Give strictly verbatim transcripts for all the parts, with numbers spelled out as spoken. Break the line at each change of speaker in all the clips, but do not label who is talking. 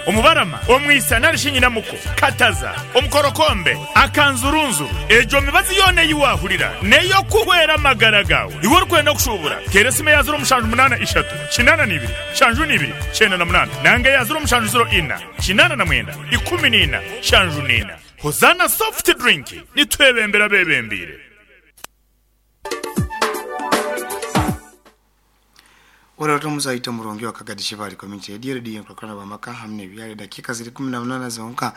Omubarama, Omwisa nari Shinyinamuko, Kataza, Omukorokombe, Akanzurunzuru. Ejo mibazi yona eyiwahurira neyo kuhwera amagara gawe. Iwe orikwenda kushubura, tera esimu ya ziro mushanju munana ishatu kinana nibiri shanju nibiri kyenda na munana nanga ya ziro mushanju ziro ina kinana na mwenda ikumi nina shanju nina. Hozana soft drink nitwebembera bebembire.
Ora muzaita murongi wa Kagadi Shibari Community Radio, Radio nkulakana bamaka hamne byale dakika ziri kumi na munana zonka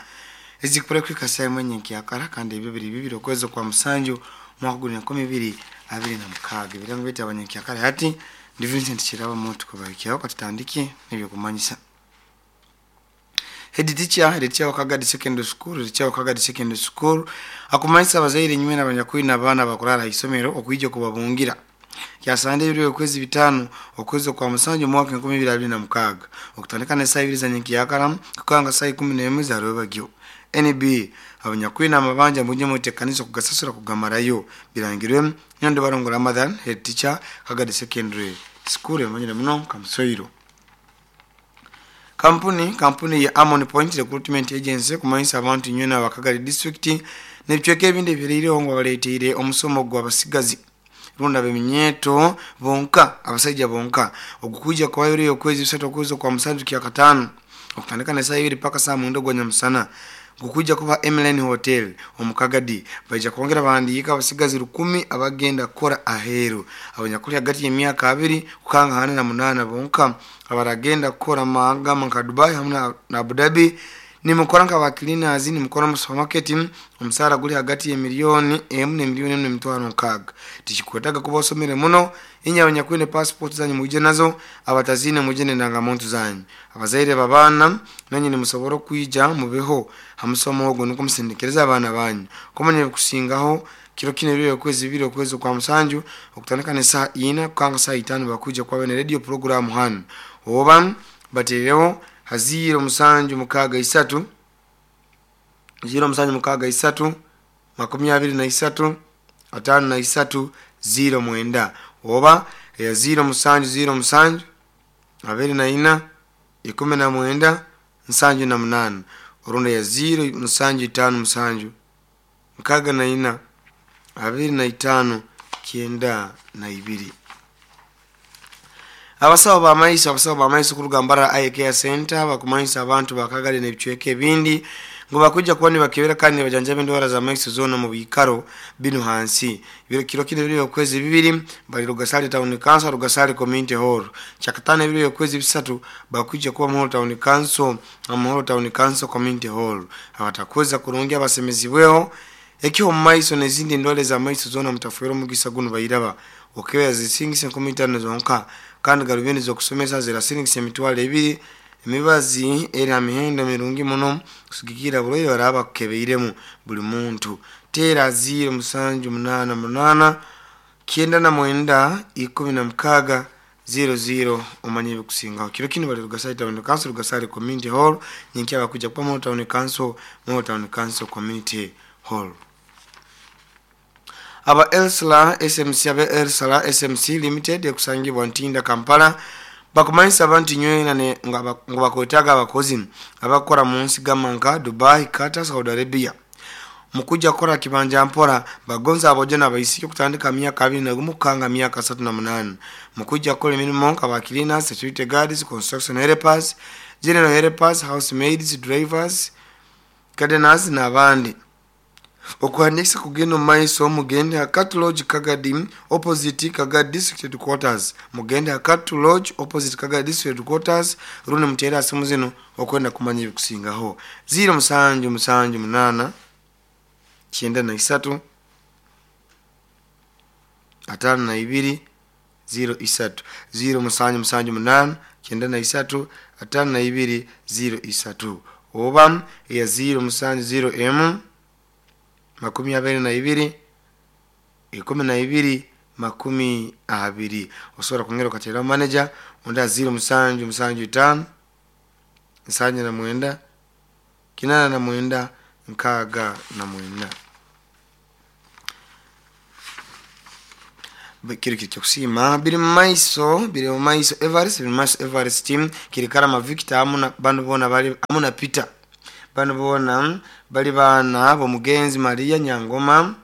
ezikupura kwika saa mwenye nkiyakara kandi ebyo biri bibiri okwezi kwa musanju mwaka guni enkumi ibiri abiri na mukaaga. Ebirango byaitu abanyenkiyakara hati ndi Vincent Kiraba muntu kubahikiaho katutandike n'ebyo kumanyisa. Head teacher, head teacher wa Kagadi Secondary School, head teacher wa Kagadi Secondary School akumanyisa abazaire nywe n'abanyakwina abaana bakurara isomero okwija kubabungira. Kyasande ebiro okwezi bitano okwezi kwa musanju mwaka enkumi ibiri abiri na mukaaga okutandika n'esaaha ibiri za nyenkiyakara kukanga saa ikumi n'emwe za rwebagyo. N B abanyakwina amabanja mujye mutekanisa kugasasura kugamarayo birangirwe Nyondo Barongo Ramadhan, head teacher Kagadi Secondary School emanyire muno Kamusoiro. Kampuni kampuni ya Amon Point Recruitment Agency kumanyisa abantu nywe n'abakagadi district n'ebicweka ebindi ebiriireho ngo baleeteire omusomo gw'abasigazi runda beminyeto bonka abasajja bonka ogukuja kwa yuri okwezi bisatu okwezi kwa musanju kya katano okutandika na saa ibiri paka saa mwenda gwa nyamusana gukuja kuba Emelen Hotel omukagadi. Baija kwongera bahandiika abasigazi rukumi abagenda kukora aheru abanyakuli hagati y'emyaka abiri kukanga hane na munana bonka abaragenda kukora mahagama nka Dubai hamwe na Abu Dhabi. Nimukora nka ba cleaners, nimukora mu supermarket, omusara guli hagati ya miliyoni emu ne miliyoni emu n'emitwaro nkaaga. Tikikwetaga kuba osomere muno, inye abanyakwine passport zanyu muje nazo, abatazine muje n'endangamuntu zanyu. Abazaire babaana nanye nimusobora okwija mubeho hamusomo ogwo nukwo musindikereza abaana banyu. Kumanya ebikusingaho kiro kino ebiro okwezi bibiri okwezi kwa musanju okutandika n'esaaha ina kukanga saa itaano bakuja kwabe ne radio program hano. Oba bateereho haziro musanju mukaaga isatu ziro musanju mukaaga isatu makumi abiri na isatu atano na isatu ziro mwenda oba ya ziro musanju ziro musanju abiri na ina ikumi na mwenda nsanju na munana orunda ya ziro musanju itano musanju mukaaga na ina abiri na itano kyenda na ibiri. Abasawo b'amaiso abasawo b'amaiso kuruga Mbarara Eye Care Center bakumanyisa abantu bakagari n'ebicweka ebindi ngo bakuja kuba nibakebera kandi nibajanjaba endwara z'amaiso zoona mu biikaro binu hansi. Biro kiro kino biri okwezi bibiri bali Rugasale Town Council, Rugasale Community Hall. Kyakatano ebiro okwezi bisatu bakuja kuba Muhoro Town Council, Muhoro Town Council Community Hall. Abatakweza kurungi abasemezibweho ekyo mu maiso n'ezindi endwara z'amaiso zoona mutafuera omugisa guno bayiraba. Okebera zisingisa enkumi itaano zonka kandi garubindi z'okusomesa zirasingisa emitwaro ebiri. Emibazi eri ha mihendo mirungi muno kusigikira burwaire baraba bakukebeiremu buli muntu. Teera ziro musanju munana munana kyenda na mwenda ikumi na mukaaga ziro ziro omanye ebikusingaho. Kiro kino bali Rugasale Town Council, Rugasale Community Hall, nyenkya bakuja kuba Muhoro Town Council, Muhoro Town Council Community Hall. Aba Elsala S M C, aba Elsala S M C Limited ekusangibwa Ntinda Kampala bakumanyisa abantu nywena ne nga bakwetaaga abakozi abakora mu nsi gamba nka Dubai, Qatar, Saudi Arabia. Mukuja kukora kibanja mpora bagonza abojo n'abaisiki okutandika myaka abiri na gumu kukanga myaka asatu na munana. Mukuja kukora emirimo nka ba cleaners, security guards, construction helpers, general helpers, housemaids, drivers, gardeners n'abandi. Okuhandikisa kugenda omu maiso mugende Hakatu Lodge Kagadi opposite Kagadi District Headquarters. Mugende Hakatu Lodge opposite Kagadi District Headquarters rundi muteere asimu zino okwenda kumanya ebikusingaho. Ziro musanju musanju munana kyenda na isatu atano na ibiri ziro isatu. Ziro musanju musanju munana kyenda na isatu atano na ibiri ziro isatu oba ya ziro musanju ziro emu makumi abiri na ibiri ikumi na ibiri makumi abiri. Osobola kwongera okateeraho manager onda ziro musanju musanju itaano nsanju na mwenda kinana na mwenda nkaaga na mwenda. Kiri kiri kyokusiima biri mumaiso, biri mumaiso Everest, biri mumaiso Everest, kiri Karama Victor amu na banu boona bali amu na Peter. Banu boona bali baana b'omugenzi Maria Nyangoma.